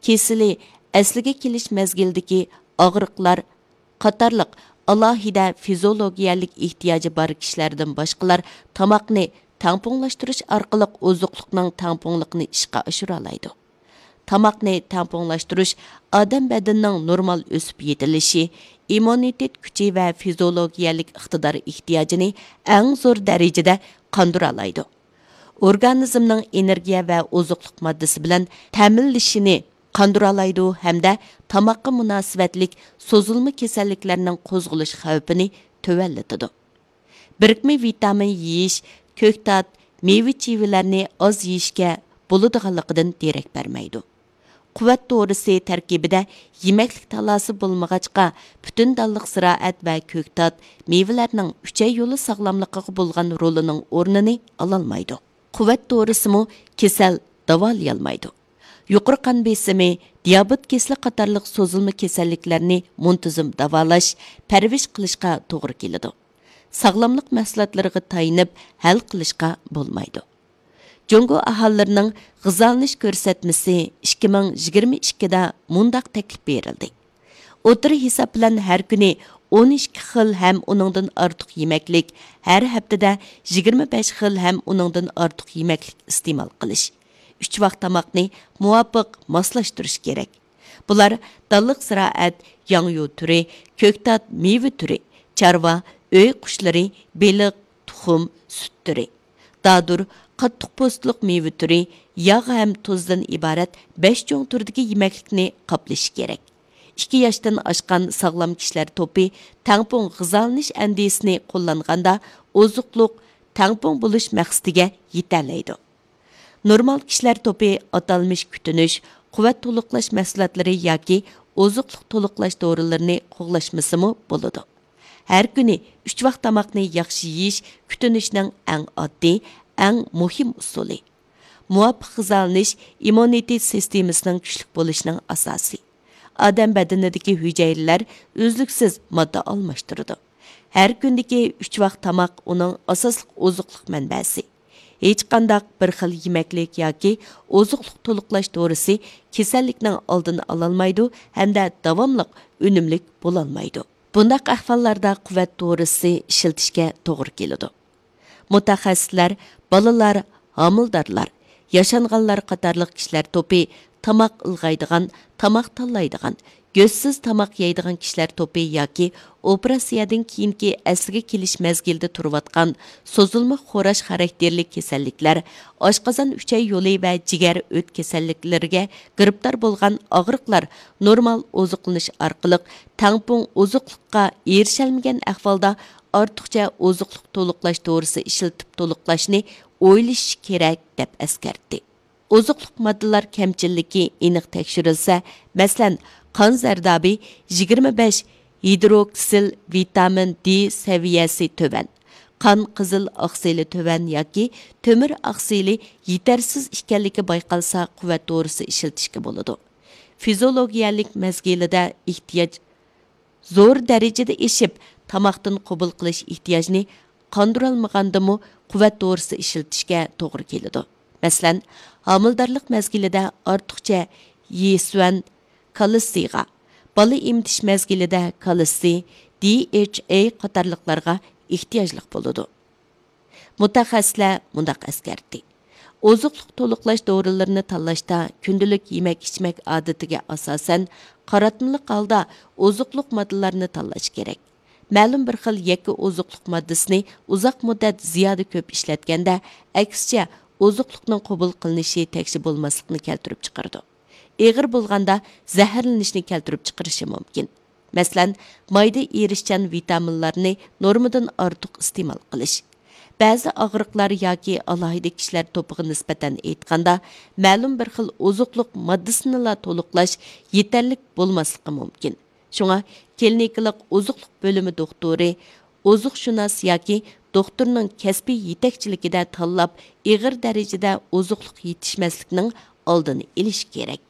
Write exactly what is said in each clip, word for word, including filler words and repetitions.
كېسىلى، ئەسلىگە كېلىش مەزگىلىدىكى ئاغرىقلار قاتارلىق ئالاھىدە فىزىئولوگىيەلىك ئېھتىياجى بار كىشىلەردىن باشقىلار تاماقنى تەڭپۇڭلاشتۇرۇش ئارقىلىق ئوزۇقلۇقنىڭ تەڭپۇڭلۇقىنى ئىشقا ئاشۇرالايدۇ. تاماقنى تەڭپۇڭلاشتۇرۇش ئادەم بەدىنىنىڭ نورمال ئۆسۈپ يېتىلىشى، ئىممۇنىتېت كۈچى ۋە فىزىئولوگىيەلىك ئىقتىدار ئېھتىياجىنى ئەڭ زور دەرىجىدە قاندۇرالايدۇ. ئورگانىزمنىڭ ئېنېرگىيە ۋە ئوزۇقلۇق ماددىسى بىلەن تەمىنلىشىنى قاندۇرالايدۇ ھەمدە تاماققا مۇناسىۋەتلىك سوزۇلما كېسەللىكلەرنىڭ قوزغىلىش خەۋپىنى تۆۋەنلىتىدۇ. بىرىكمە ۋىتامىن يېيىش، كۆكتات، مېۋە-چىۋىلەرنى ئاز يېيىشكە بولىدىغانلىقىدىن دېرەك بەرمەيدۇ. قۇۋۋەت دورىسى تەركىبىدە يېمەكلىك تالاسى بولمىغاچقا، پۈتۈن دانلىق زىرائەت ۋە كۆكتات، مېۋىلەرنىڭ ئۈچەي يولى ساغلاملىقىغا بولغان رولىنىڭ ئورنىنى ئالالمايدۇ. قۇۋۋەت دورىسىمۇ كېسەل داۋالىيالمايدۇ. يۇقىرى قان بېسىمى، دىيابېت كېسىلى قاتارلىق سوزۇلما كېسەللىكلەرنى مۇنتىزىم داۋالاش، پەرۋىش قىلىشقا توغرا كېلىدۇ. ساغلاملىق مەھسۇلاتلىرىغا تايىنىپ ھەل قىلىشقا بولمايدۇ. جۇڭگو ئاھالىلىرىنىڭ غىزالىنىش كۆرسەتمىسى ئىككى مىڭ يىگىرمە ئىككىدە مۇنداق تەكلىپ بېرىلدى: ئوتتۇرا ھېساب بىلەن ھەر كۈنى ئون ئىككى خىل ھەم ئۇنىڭدىن ئارتۇق يېمەكلىك، ھەر ھەپتىدە يىگىرمە بەش خىل ھەم ئۇنىڭدىن ئارتۇق يېمەكلىك ئىستېمال قىلىش، ئۈچ ۋاق تاماقنى مۇۋاپىق ماسلاشتۇرۇش كېرەك. بۇلار دانلىق زىرائەت، ياڭيۇ تۈرى، كۆكتات، مېۋە تۈرى، چارۋا، ئۆي قۇشلىرى، بېلىق، تۇخۇم، سۈت تۈرى، دادۇر، قاتتىق پوستلۇق مېۋە تۈرى، ياغ ھەم تۇزدىن ئىبارەت بەش چوڭ تۈردىكى يېمەكلىكنى قاپلىشى كېرەك. ئىككى ياشتىن ئاشقان ساغلام كىشىلەر توپى تەڭپۇڭ غىزالىنىش ئەندىزىسىنى قوللانغاندا، ئوزۇقلۇق تەڭپۇڭ بولۇش مەقسىتىگە يېتەلەيدۇ. نورمال كىشىلەر توپى ئاتالمىش كۈتۈنۈش، قۇۋۋەت تولۇقلاش مەھسۇلاتلىرى ياكى ئوزۇقلۇق تولۇقلاش دورىلىرىنى قوغلاشمىسىمۇ بولىدۇ. ھەر كۈنى ئۈچ ۋاق تاماقنى ياخشى يېيىش كۈتۈنۈشنىڭ ئەڭ ئاددىي، ئەڭ مۇھىم ئۇسۇلى. مۇۋاپىق غىزالىنىش ئىممۇنىتېت سىستېمىسىنىڭ كۈچلۈك بولۇشىنىڭ ئاساسى. ئادەم بەدىنىدىكى ھۈجەيرىلەر ئۈزلۈكسىز ماددا ئالماشتۇرىدۇ. ھەر كۈندىكى ئۈچ ۋاق تاماق ئۇنىڭ ئاساسلىق ئوزۇقلۇق مەنبەسى. ھېچقانداق بىر خىل يېمەكلىك ياكى ئوزۇقلۇق تولۇقلاش دورىسى كېسەللىكنىڭ ئالدىنى ئالالمايدۇ ھەمدە داۋاملىق ئۈنۈملۈك بولالمايدۇ. بۇنداق ئەھۋاللاردا قۇۋۋەت دورىسى ئىشلىتىشكە توغرا كېلىدۇ. مۇتەخەسسىسلەر بالىلار، ھامىلىدارلار، ياشانغانلار قاتارلىق كىشىلەر توپى، تاماق ئىلغايدىغان، تاماق تاللايدىغان، گۆشسىز تاماق يەيدىغان كىشىلەر توپى ياكى ئوپېراتسىيەدىن كېيىنكى ئەسلىگە كېلىش مەزگىلىدە تۇرۇۋاتقان سوزۇلما خوراش خاراكتېرلىك كېسەللىكلەر، ئاشقازان، ئۈچەي يولى ۋە جىگەر ئۆت كېسەللىكلىرىگە گىرىپتار بولغان ئاغرىقلار نورمال ئوزۇقلىنىش ئارقىلىق تەڭپۇڭ ئوزۇقلۇققا ئېرىشەلمىگەن ئەھۋالدا، ئارتۇقچە ئوزۇقلۇق تولۇقلاش دورىسى ئىشلىتىپ تولۇقلاشنى ئويلىشىش كېرەك، دەپ ئەسكەرتتى. ئوزۇقلۇق ماددىلار كەمچىللىكى ئېنىق تەكشۈرۈلسە، مەسىلەن، قان زەردابى يىگىرمە بەش، ھىدروكسىل ۋىتامىن دې سەۋىيەسى تۆۋەن، قان قىزىل ئاقسىلى تۆۋەن ياكى تۆمۈر ئاقسىلى يېتەرسىز ئىكەنلىكى بايقالسا، قۇۋۋەت دورىسى ئىشلىتىشكە بولىدۇ. فىزىئولوگىيەلىك مەزگىلىدە ئېھتىياج زور دەرىجىدە ئېشىپ، تاماقتىن قوبۇل قىلىش ئېھتىياجىنى قاندۇرالمىغاندىمۇ، قۇۋۋەت دورىسى ئىشلىتىشكە توغرا كېلىدۇ. مەسىلەن، ھامىلىدارلىق مەزگىلىدە ئارتۇقچە يېسۈەن كالتسىيغا، بالا ئېمىتىش مەزگىلىدە كالتسىي، دې ئېچ ئەي قاتارلىقلارغا ئېھتىياجلىق بولىدۇ. مۇتەخەسسىسلەر مۇنداق ئەسكەرتتى: ئوزۇقلۇق تولۇقلاش دورىلىرىنى تاللاشتا كۈندىلىك يېمەك-ئىچمەك ئادىتىگە ئاساسەن، قاراتمىلىق ھالدا ئوزۇقلۇق ماددىلارنى تاللاش كېرەك. مەلۇم بىر خىل يەككە ئوزۇقلۇق ماددىسىنى ئۇزاق مۇددەت زىيادە كۆپ ئىشلەتكەندە، ئەكسىچە، ئوزۇقلۇقنىڭ قوبۇل قىلىنىشى تەكشى بولماسلىقنى كەلتۈرۈپ چىقىرىدۇ. ئېغىر بولغاندا زەھەرلىنىشنى كەلتۈرۈپ چىقىرىشى مۇمكىن. مەسىلەن، مايدا ئېرىشچان ۋىتامىنلارنى نورمىدىن ئارتۇق ئىستېمال قىلىش. بەزى ئاغرىقلار ياكى ئالاھىدە كىشىلەر توپىغا نىسبەتەن ئېيتقاندا، مەلۇم بىر خىل ئوزۇقلۇق ماددىسىنىلا تولۇقلاش يېتەرلىك بولماسلىقى مۇمكىن. شۇڭا كلىنىكىلىق ئوزۇقلۇق بۆلۈمى دوختۇرى، ئوزۇقشۇناس ياكى دوختۇرنىڭ كەسپىي يېتەكچىلىكىدە تاللاپ، ئېغىر دەرىجىدە ئوزۇقلۇق يېتىشمەسلىكنىڭ ئالدىنى ئېلىش كېرەك.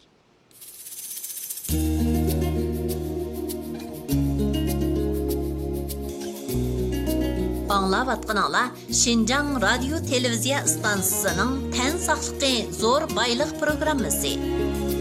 ئاڭلاۋاتقىنىڭلار شىنجاڭ رادىيو تېلېۋىزىيە ئىستانسىسىنىڭ تەن ساقلىقى زور بايلىق پروگراممىسى.